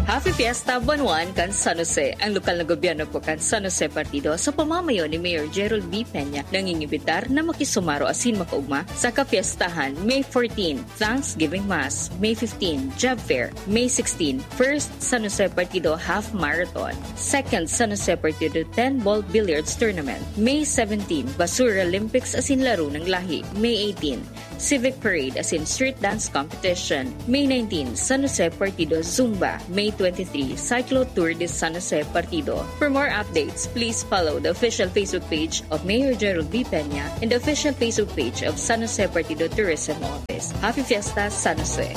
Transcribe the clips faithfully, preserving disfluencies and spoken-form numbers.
Happy Fiesta Buwan One kan San Jose. Ang lokal na gobyerno po kan San Jose Partido sa pamamayo ni Mayor Gerald B. Peña nangingibitar na makisumaro asin makaugma sa kapiestahan May fourteen, Thanksgiving Mass, May fifteen, Job Fair, May sixteen, First San Jose Partido Half Marathon, Second San Jose Partido ten Ball Billiards Tournament, May seventeen, Basura Olympics asin Laro ng Lahi, May eighteen, Civic Parade asin Street Dance Competition, May nineteen, San Jose Partido Zumba, May twenty-three, Cyclo Tour de San Jose Partido. For more updates, please follow the official Facebook page of Mayor Gerald B. Peña and the official Facebook page of San Jose Partido Tourism Office. Happy Fiesta, San Jose!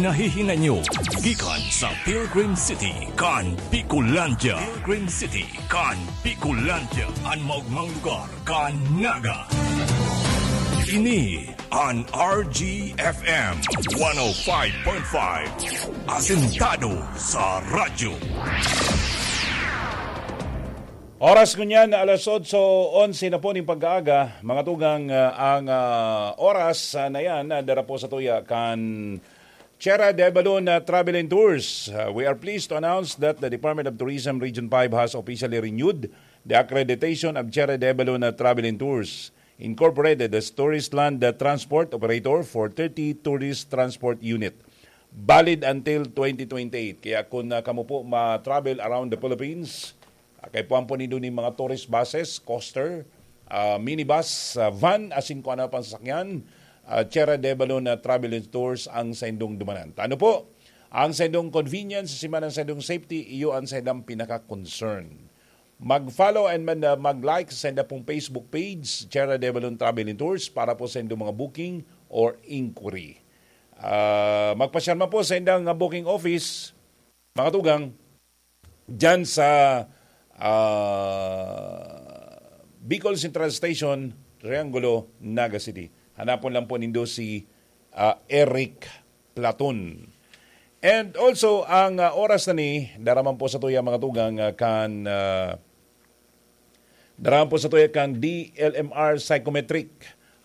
Nahihinay nyo gikan sa Pilgrim City kan Bicolandia. Pilgrim City kan Bicolandia, an maogmang lugar kan Naga. Ini an R G F M one oh five point five. Asentado sa radyo. Oras ngunyan, alas otso onse na po ning pagkaaga. Mga tugang, ah, ang, ah, oras, ah, na yan, ah, dara po sa tuya kan Tierra de Balon, ah, Travel and Tours. Ah, we are pleased to announce that the Department of Tourism Region five has officially renewed the accreditation of Tierra de Balon, ah, Travel and Tours Incorporated as tourist land, ah, transport operator for thirty tourist transport unit. Valid until twenty twenty-eight. Kaya kung, ah, kamo po ma-travel around the Philippines, ah, kaipuhan po nindo nin mga tourist buses, coaster, ah, minibus, ah, van, asin kung ano pang sasakyan, ah, Tierra de Balon na Travel and Tours ang saindong dumanan. Ta ano po, ang saindong convenience, siman ang saindong safety, iyo ang saindang pinaka-concern. Mag-follow and man, ah, mag-like sa sainda pong Facebook page, Tierra de Balon Travel and Tours, para po sa indong mga booking or inquiry. Ah, magpasyal man po sa indang, ah, booking office, mga tugang, dyan sa, ah, Bicol Central Station, Triangulo, Naga City. Hanapon lang po nindo si, ah, Eric Platon. And also, ang, ah, oras na ni, dara man po sa tuya, mga tugang, ah, kan, ah, dara man po sa tuya kang D L M R Psychometric.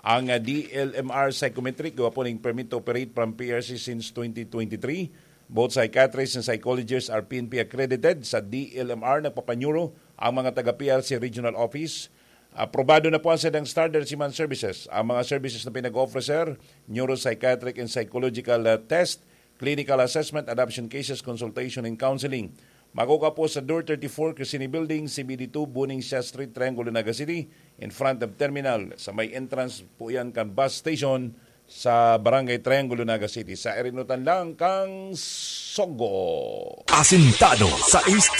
Ang, ah, D L M R Psychometric, gawa po ning permit to operate from P R C since twenty twenty-three. Both psychiatrists and psychologists are P N P accredited. Sa D L M R, nagpapaneuro ang mga taga P R C Regional Office. Aprobado na po ang saindang standard siman services. Ang mga services na pinag-offer, sir, neuropsychiatric and psychological, ah, test, clinical assessment, adoption cases, consultation, and counseling. Makukuha po sa Door thirty-four, Crescini Building, C B D two, Buning Siya Street, Triangulo, Naga City, in front of terminal. Sa may entrance po yan kan bus station sa Barangay Triangulo, Naga City. Sa irinutan lang kang Sogo. Asintado sa East